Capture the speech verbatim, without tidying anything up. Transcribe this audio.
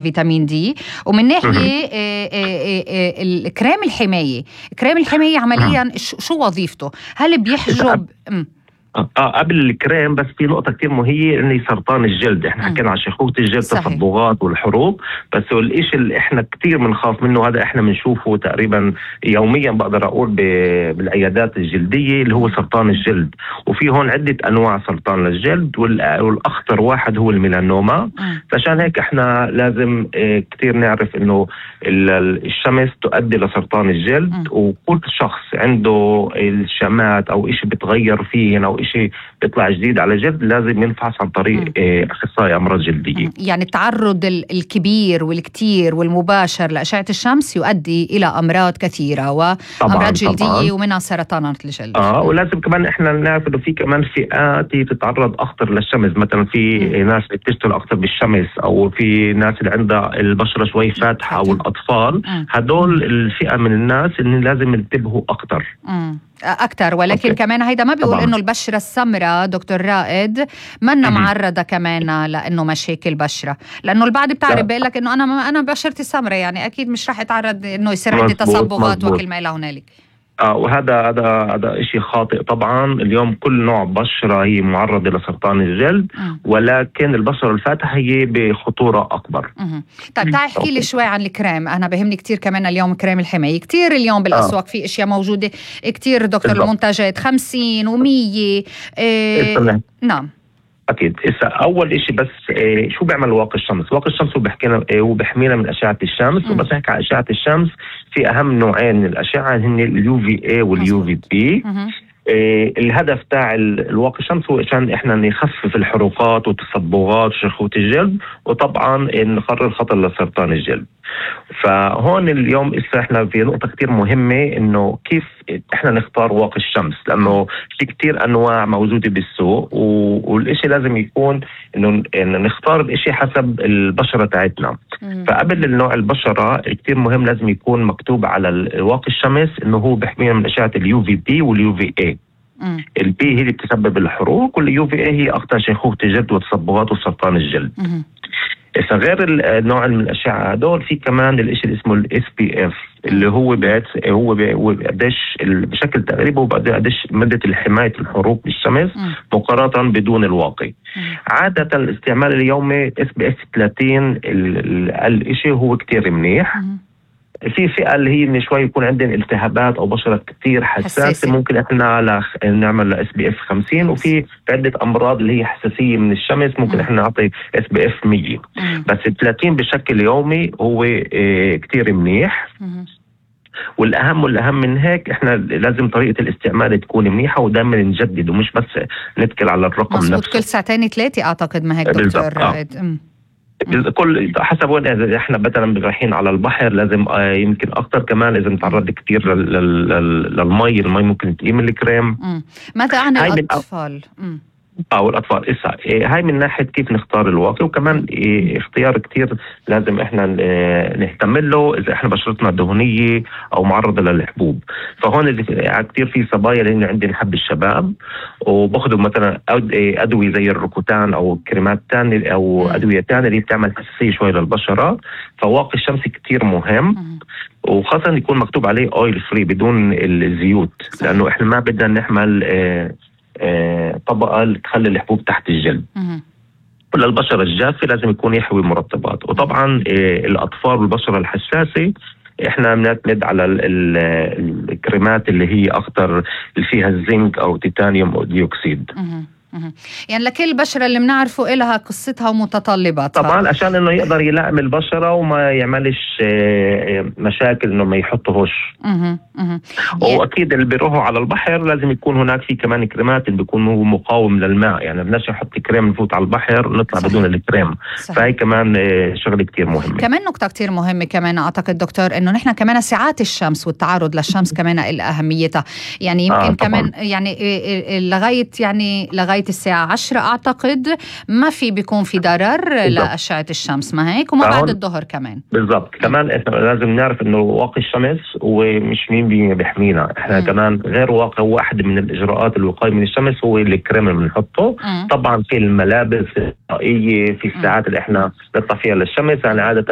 فيتامين دي. ومن ناحية آه، آه، آه، الكريم الحماية كريم الحماية عمليا شو وظيفته؟ هل بيحجب م. اه قبل الكريم بس في نقطة كتير مهمة انه سرطان الجلد. احنا حكينا عن شيخوخة الجلد، تصبغات والحروق، بس الاشي اللي احنا كتير بنخاف منه، هذا احنا بنشوفه تقريبا يوميا بقدر اقول بالعيادات الجلدية، اللي هو سرطان الجلد. وفي هون عدة انواع سرطان الجلد، والاخطر واحد هو الميلانوما. فعشان هيك احنا لازم اه كتير نعرف انه الشمس تؤدي لسرطان الجلد. م. وكل شخص عنده الشمات او اشي بتغير فيه او اشي بيطلع جديد على جلد لازم ينفحص عن طريق اه اخصائي امراض جلدية. يعني التعرض الكبير والكتير والمباشر لأشعة الشمس يؤدي الى امراض كثيرة وامراض جلدية طبعاً. ومنها سرطانات الجلد. اه ولازم كمان احنا نعرف انه في كمان فئات تتعرض اكثر للشمس، مثلا في م. ناس بتشتغل اكثر بالشمس، او في ناس اللي عندها البشرة شوي فاتحة، او الاطفال. هدول الفئة من الناس اللي لازم ينتبهوا اكثر أكتر. ولكن أوكي. كمان هيدا ما بيقول طبعاً. إنه البشرة السمراء دكتور رائد منا معرضة كمان لأنه مشاكل بشرة، لأنه البعض بتعرف بيقول لك إنه أنا أنا بشرتي سمراء، يعني أكيد مش راح يتعرض إنه يصير عندي تصبغات وكل ما إلى هنالك. آه وهذا هذا هذا شيء خاطئ طبعا. اليوم كل نوع بشرة هي معرضة لسرطان الجلد، م. ولكن البشرة الفاتحة هي بخطورة أكبر. م. طيب تعال احكي لي شوي عن الكريم. أنا بهمني كتير كمان اليوم كريم الحماية. كتير اليوم بالأسواق آه. في أشياء موجودة كتير دكتور بالضبط. المنتجات خمسين ومية إيه... نعم أكيد. إسا أول إشي بس إيه شو بيعمل واقي الشمس؟ واقي الشمس هو بيحكينا إيه هو بيحمينا من أشعة الشمس. م. وبس نحكي عن أشعة الشمس في أهم نوعين من الأشعة، هن اليو في اي واليو في بي. إيه الهدف تاع الواقي الشمس هو عشان إحنا نخفف الحروقات والتصبغات وشيخوخة الجلد، وطبعا نقلل خطر لسرطان الجلد. فهون اليوم إسا إحنا في نقطة كتير مهمة، إنه كيف إحنا نختار واقي الشمس، لأنه في كتير أنواع موجودة بالسوق، والإشي لازم يكون إنه نختار الإشي حسب البشرة تاعتنا. فقبل النوع البشرة كتير مهم لازم يكون مكتوب على واقي الشمس إنه هو بيحمينا من أشعة اليو في بي واليو في اي. البي هي اللي بتسبب الحروق، واليو في اي هي أخطر شيخوخة الجلد وتصبغات وسرطان الجلد. إذا غير النوع من الأشعة هدول في كمان الإشي اللي اسمه الاس بي اف، اللي هو بيت هو قديش بشكل تقريبي وقديش مدة الحماية الحروق بالشمس مقارنة بدون الواقي. عادة الاستعمال اليومي اس بي اف ثلاثين الإشي هو كتير منيح. في فئة اللي هي من شوي يكون عندنا التهابات أو بشرة كتير حساسة، ممكن إحنا نعمل اس بي اف خمسين. وفي عدة أمراض اللي هي حساسية من الشمس ممكن إحنا نعطي اس بي اف مية. بس ثلاثين بشكل يومي هو اه كتير منيح. والأهم والأهم من هيك إحنا لازم طريقة الاستعمال تكون منيحة، ودائما نجدد ومش بس نتكل على الرقم نفسه. مظبوط، كل ساعتين ثلاثة أعتقد ما هيك دكتور رائد. كل حسب وين. اذا احنا مثلا رايحين على البحر لازم آه يمكن اكثر كمان اذا نتعرض كثير للمي، المي ممكن تقيم الكريم. ماذا عن الاطفال؟ اه والاطفال اسا إيه هاي من ناحيه كيف نختار الواقي. وكمان إيه اختيار كتير لازم احنا إيه نهتم له اذا احنا بشرتنا دهنيه او معرضه للحبوب. فهون كتير في صبايا اللي عندي حب الشباب وباخذوا مثلا ادويه زي الروكوتان او كريمات ثانيه او ادويه ثانيه اللي بتعمل حساسيه شوي للبشره. فواقي الشمس كتير مهم، وخاصه يكون مكتوب عليه اويل فري بدون الزيوت، لانه احنا ما بدنا نحمل إيه آه طبقة اللي تخلي الحبوب تحت الجلد. وللبشرة الجافة لازم يكون يحوي مرطبات. وطبعا آه الأطفال والبشرة الحساسة احنا بنعتمد على ال ال الكريمات اللي هي أخطر اللي فيها الزنك أو تيتانيوم أو ديوكسيد. يعني لكل بشرة اللي بنعرفه إلها قصتها ومتطلباتها طبعا، عشان انه يقدر يلائم البشرة وما يعملش مشاكل انه ما يحطهوش. واكيد اللي بيروحوا على البحر لازم يكون هناك في كمان كريمات اللي بيكون هو مقاوم للماء، يعني بدناش نحط كريم نفوت على البحر نطلع صحيح. بدون الكريم. فهي كمان شغله كتير مهمه. كمان نقطه كتير مهمه كمان اعتقد دكتور انه نحن كمان ساعات الشمس والتعرض للشمس كمان لها اهميتها. يعني يمكن آه كمان يعني لغايه يعني لغايه لغاية الساعة عشرة أعتقد ما في بيكون في ضرر لأشعة الشمس، ما هيك؟ وما بعد الظهر كمان. بالضبط. كمان إحنا لازم نعرف إنه واقي الشمس ومش مين بي بيحمينا، إحنا م. كمان غير واقي. هو واحد من الإجراءات الوقاية من الشمس هو الكريم اللي بنحطه. م. طبعا في الملابس الوقائية، في الساعات اللي إحنا نطلع فيها للشمس، يعني عادة